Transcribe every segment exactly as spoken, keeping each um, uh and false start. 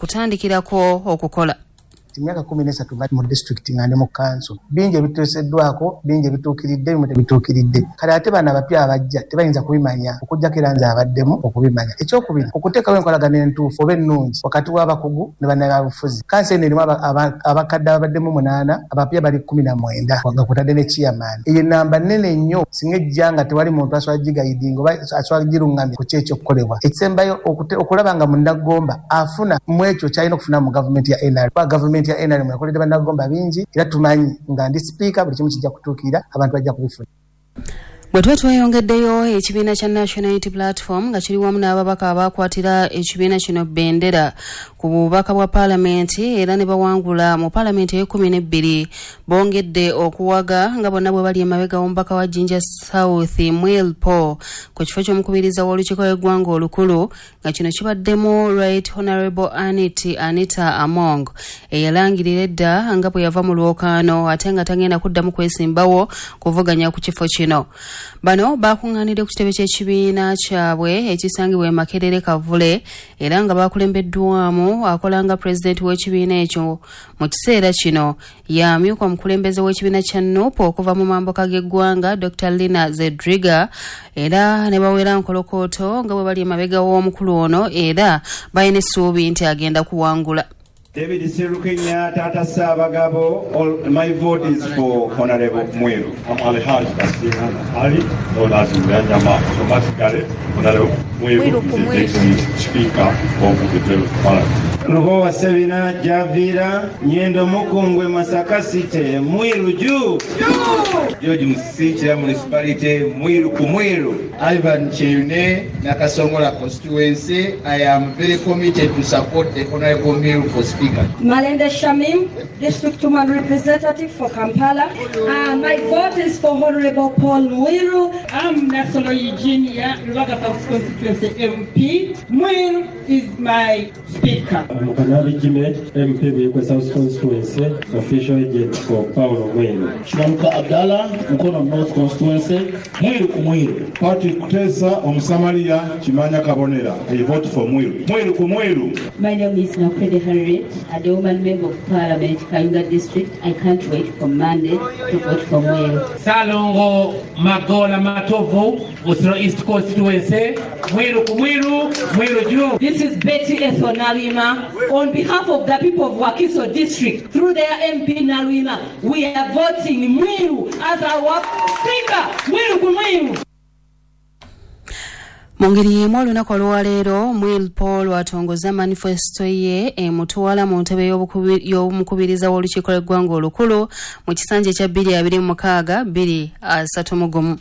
Okutandikirako okukola Emyaka kumi n'esatu mu disitulikiti nga ndi mu kanso, bingi ebituuseddwako, bingi ebituukiridde, ebimu tebituukiridde. Kale ate bano abapya abajja tebayinza kubimanya okuggyako era nze abaddemu okubimanya. Ekyokubiri, okuteekawo enkolagano entuufu oba ennungi wakati w'abakugu ne bannabyabufuzi. Kanso eno erimu abakadde ababaddemu munaana, abapya bali kkumi na mwenda nga kutadde ne chairman. Eyo enamba nnene nnyo singa ejja nga tewali muntu asobola giguidinga oba asobola giruŋŋamya ku ki ekyokukolebwa. Ekisembayo, okulaba nga munnagomba afuna mu ekyo kyalina okufuna mu gavumenti ya N R M, kuba gavumenti ya N R M yakoledde bannagomba bingi, era tumanyi nga ndi sipiika buli kimu kijja kutuukirira, abantu bajja kubifuna. Bwe tuba tweyongeddeyo, ekibiina kya National Unity Platform nga kiri wamu n'ababaka abakwatira ekibiina kino bendera ku bubaka bwa paalamenti era ne bawangula mu paalamenti ey'ekumi n'ebbiri, bongedde okuwaga nga bonna bwe bali emabega w'omubaka wa Jinja South Mwiru Paul ku kifo ky'omukubiriza w'olukiiko lw'eggwanga olukulu, nga kino kibaddemu Right Honorable Anit Anita Among eyalangirira edda nga bwe yava mu lwokaano ate nga tagenda kuddamu kwesimbawo kuvuganya ku kifo kino. Bano bakuŋŋaanidde ku kitebe ky'ekibiina kyabwe ekisangibwa e Makerere Kavule, era nga bakulembeddwamu akola nga pulezidenti w'ekibiina ekyo mu kiseera kino, yamyuka omukulembeze w'ekibiina kya NUP okuva mu mambuka g'eggwanga, Doctor Lina Zedriga, era ne bawera nkolokooto nga bwe bali emabega w'omukulu ono era balina essuubi nti agenda kuwangula. David Serukenya, Tata Sabagabo, all, my vote is for Honorable Mwiru. I'm Alhaj Basiran Ali, known as Nyama. Automatically, Honorable Mwiru is the next Speaker of the Federal Parliament. Lubowa Sebina Javira, Nyendo Mukungwe, Masaka City, Mwiru juu. George Musisi, Municipality, Mwiru ku Mwiru. Ivan Kyeyune, Nakasongola constituency. I am very committed to support the Honorable Mwiru for Speaker. Malende Shamim, District Woman Representative for Kampala. Uh, my vote is for Honorable Paul Mwiru. I'm Nassolo Eugenia, Rubaga South Constituency M P. Mwiru is my speaker. I'm Kanabi Jimmy, M P Buikwe South Constituency, official agent for Paulo Mwiru. Kiwanuka Abdallah, Mukono North Constituency, Mwiru ku Mwiru. Patrick Kutesa, Omusamaria, Kimanya Kabonera. I vote for Mwiru. Mwiru ku Mwiru. My name is Nakwede Harriet, a woman member of parliament, Kayunga District. I can't wait for Monday to vote for Mwiru. Salongo Magola Matovu, Busiro East Constituency, Mwiru ku Mwiru, Mwiru juu. This is Betty Ethel Naluyima. On behalf of the people of Wakiso District, through their M P Naluyima, we are voting Mwiru as our speaker. Mwiru ku Mwiru. Mu ngeri y'emu, olunaku olwaleero Mwiru Paul atongoza manifesto ye emutwala mu ntebe y'omukubiriza w'olukiiko lw'eggwanga olukulu mu kisanja ekya bbiri abiri mu mukaaga bbiri asatu mu gumu.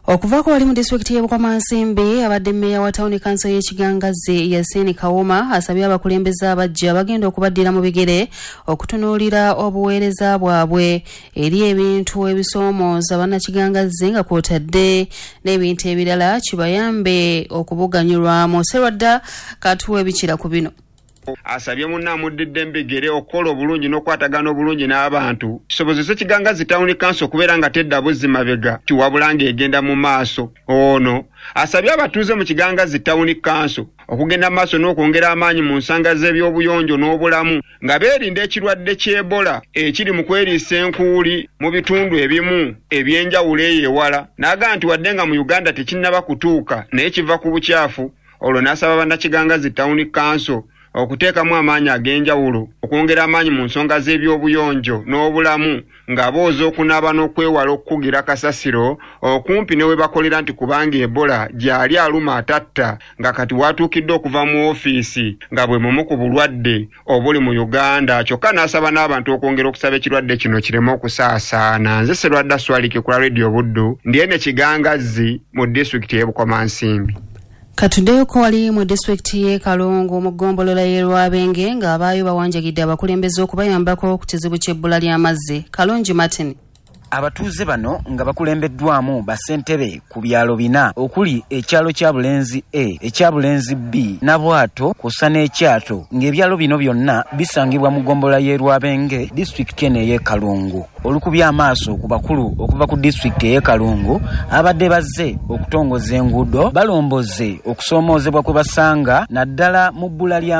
Okuvaako wali mu disitulikiti y'e Bukomansimbi, abadde mmeeya wa tawuni kanso y'e Kigangazi Yasini Kawuma asabye abakulembeze abajja bagenda okubaddira mu bigere okutunuulira obuweereza bwabwe eri ebintu ebisoomooza bannakigangazzi nga kwotadde n'ebintu ebirala kibayambe okubuganyulwamu. Serwadda katuwa ebikira ku bino. Asabye munne amuddidde embigere okukola obulungi n'okukwatagana obulungi n'abantu kisobozese Kigangazi Town Council okubeera nga tedda buzzi mabega, tiwabula ng'egenda mu maaso. Ono asabye abatuuze mu Kigangazi Town Council okugenda mu maaso n'okwongera amaanyi mu nsonga z'ebyobuyonjo n'obulamu nga beerinda ekirwadde ky'Ebola ekiri mu kweriisa enkuuli mu bitundu ebimu ebyenjawulo eyo ewala, n'agamba nti wadde nga mu Uganda tekinnaba kutuuka, naye kiva ku bukyafu. Olwo n'asaba bannakigangazi Town Council okuteekamu amaanyi ag'enjawulo okwongera amaanyi mu nsonga z'ebyobuyonjo n'obulamu nga booza, okunaaba n'okwewala okukugira kasasiro okumpi ne we bakolera, nti kubanga Ebola gy'ali aluma atatta, nga kati watuukidde okuva mu ofiisi nga bwe mumu ku bulwadde obuli mu Uganda. Kyokka n'asaba n'abantu okwongera okusaba ekirwadde kino kireme okusaasaana. Nze Serwadda Swalike ku Radio Buddu, ndi ene Kigangazzi mu disitulikiti y'e Bukomansimbi. Katuddeyoko wali mu disitulikiti y'e Kalungu mu ggombolola y'e Lwabenge ng'abaayo bawanjagidde abakulembeze okubayambako ku kizibu ky'ebbula ly'amazzi. Kalungi Martin. Abatuuze bano nga bakulembeddwamu bassentebe ku byalo bina okuli ekyalo kya Bulenzi A, ekya Bulenzi B, Nabwato kw'ossa n'Ekyato, ng'ebyalo bino byonna bisangibwa mu ggombolola y'e Lwabenge, disitulikiti eno ey'e Kalungu. Olukubye amaaso ku bakulu okuva ku disitulikiti ey'e Kalungu abadde bazze okutongoza enguudo, balomboze okusoomoozebwa kwe basanga naddala mu bbula lya